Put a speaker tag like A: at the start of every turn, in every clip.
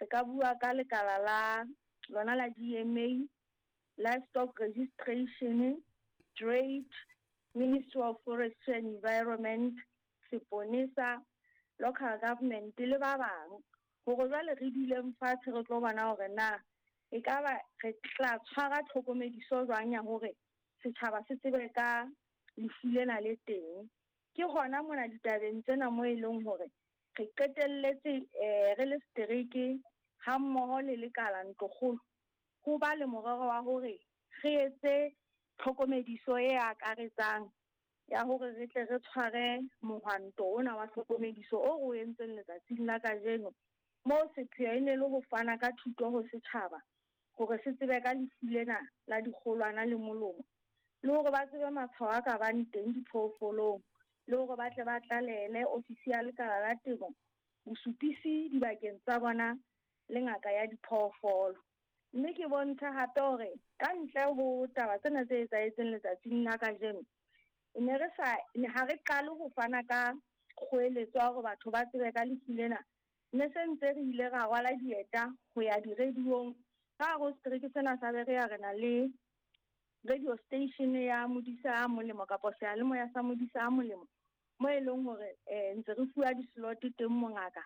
A: Re ka bua ka lekala la lona la DMA, Livestock Registration, Trade, Ministry of Forestry and Environment, Seponesa, Local Government le ba bang hore jwale re duleng fatshe re tlo bona hore na ekaba re tla tshwara tlhokomediso jwang ya hore setjhaba se tsebe ka lefu lena le teng. Ke hona mona ditabeng tsena mo e leng hore re qetelletse re le setereke ha mmoho le lekala ntlokgolo ho ba le morero wa hore re etse tlhokomediso e akaretsang ya hore re tle re tshware mohwanto ona wa tlhokomediso o re o entseng letsatsing la kajeno, moo sepheo e ne le ho fana ka thuto ho setjhaba hore se tsebe ka lefu lena la dikgolwana le molomo, le hore ba tsebe matshwao a ka bang teng diphoofolong, le hore ba tle ba tlalehele ofisi ya lekala la temo bosupisi dibakeng tsa bona le ngaka ya diphoofolo. Mme ke bontshe hape hore ka ntle ho taba tsena tse etsahetseng letsatsing la kajeno, ne re sa ha re qale ho fana ka kgoeletso ya hore batho ba tsebe ka lefu lena. Ne se ntse re ile ra rwala dieta ho ya di-radio-ong. Ka hare ho setereke sena sa Berea re na le radio station ya Modisa a Molemo kapa seyalemoya sa Modisa a Molemo, mo e leng hore ntse re fuwa di-slot teng mongaka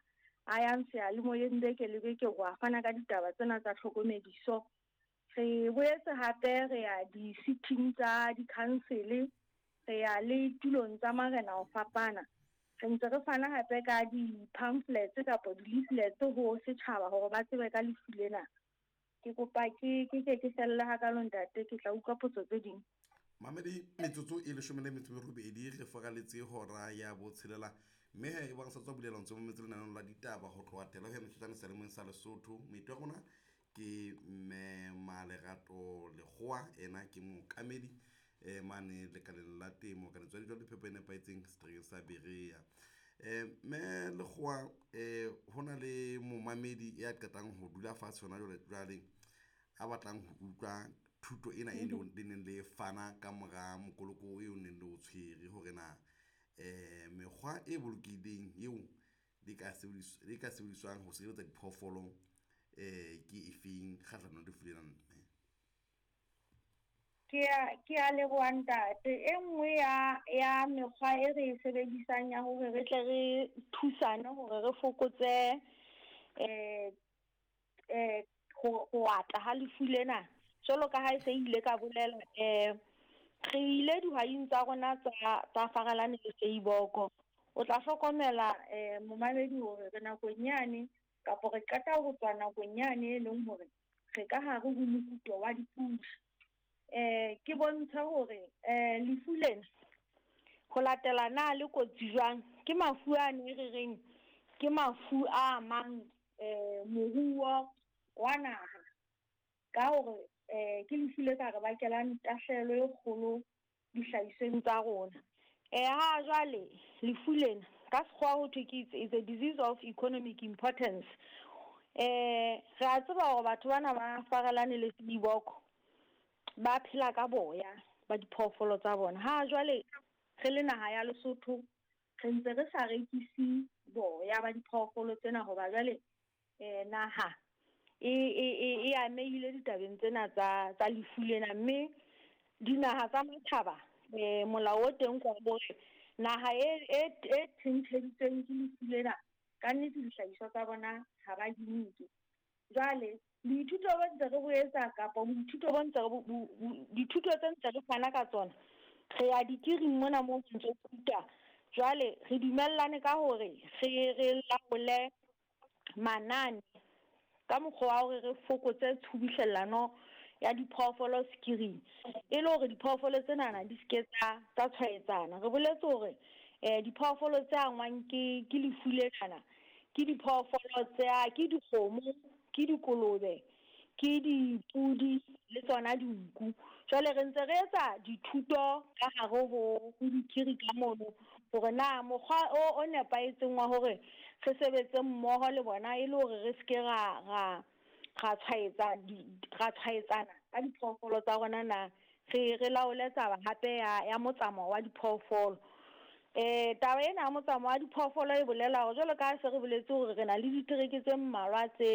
A: a yang seyalemoyeng beke le beke ho a fana ka ditaba tsena tsa tlhokomediso. Re boetse hape re ya di-sitting tsa di-council, re ya le tulong tsa marena ho fapana. Re ntse re fana hape ka di-pamphlets kapa di-leaflets ho setjhaba hore ba tsebe ka lefu lena. Ke kopa ke ke ke ke felle hakalo ntate, ke tla utlwa potso tse ding.
B: Mamedi, metsotso e 18 re faraletse hora ya botshelela, mme he e bang sa tswa bulela ntse mametse lenaneo la ditaba ho tloha tela ho ya metsotjane selemong sa Lesotho. Moeti wa rona ke mme Malerato Lekgowa, ena ke mookamedi mane lekaleng la temo ka letswadi jwa le phepo e nepahetseng seterekeng sa Berea. Mme Lekgowa, ho na le momamedi ya qetang ho dula fatshe hona jwale jwale a batlang ho utlwa thuto ena e le neng le fana ka mora mokoloko eo neng le o tshwere hore na mekgwa e bolokehileng eo le ka sebediswang ho sireletsa diphoofolo ke efeng kgahlanong le lefu lena mme?
A: Ke a leboha ntate. E nngwe ya mekgwa e re e sebedisang ya hore re tle re thusane hore re fokotse ho ata ha lefu lena, jwalo ka ha e se ile ka bolela, re ile dihwaing tsa rona tsa Farelane le Seiboko. O tla hlokomela momamedi hore re nakong yane kapa re qeta ho tswa nakong yane e leng hore re ka hare ho mokuto wa dipula. Ke bontsha hore lefu lena ho latela na le kotsi jwang, ke mafu a ne re reng ke mafu a amang moruo wa naha, ka hore ke lefu le ka re bakelang tahlehelo e kgolo dihlahisweng tsa rona. Ha jwale lefu lena ka sekgowa ho thwe ke it's a disease of economic importance. Re a tseba hore batho bana ba Farelane le Seiboko ba phela ka boya ba diphoofolo tsa bona. Ha jwale re le naha ya Lesotho re ntse re sa rekise boya ba diphoofolo tsena hoba jwale naha e amehile ditabeng tsena tsa lefu lena, mme dinaha tsa matjhaba molao o teng kwa hore naha e thentheditsweng ke lefu lena ka nnete dihlahiswa tsa bona ha ba di nke. Jwale boithuto bo ntse re bo etsa kapa boithuto bo ntse re dithuto tse ntse re fana ka tsona, re ya dikiring mona mo ntse ruta. Jwale re dumellane ka hore re laole manane ka mokgwa wa hore re fokotse tshubuhlellano ya diphoofolo sekiring, e le hore diphoofolo tsenana di seke tsa tshwaetsana. Re boletse hore diphoofolo tse angwang ke lefu lenana ke diphoofolo tsa ke dikgomo, ke dikolobe, ke dipudi le tsona dinku. Jwale re ntse re etsa dithuto ka hare ho dikiri ka mono hore na mokgwa o nepahetseng wa hore re sebetse mmoho le bona e le hore re seke ra tshwaetsana ka diphoofolo tsa rona na, re laole taba hape ya motsamao wa diphoofolo. Taba ena ya motsamao wa diphoofolo e bolela hore jwalo ka ha se re boletse hore re na le ditereke tse mmalwa tse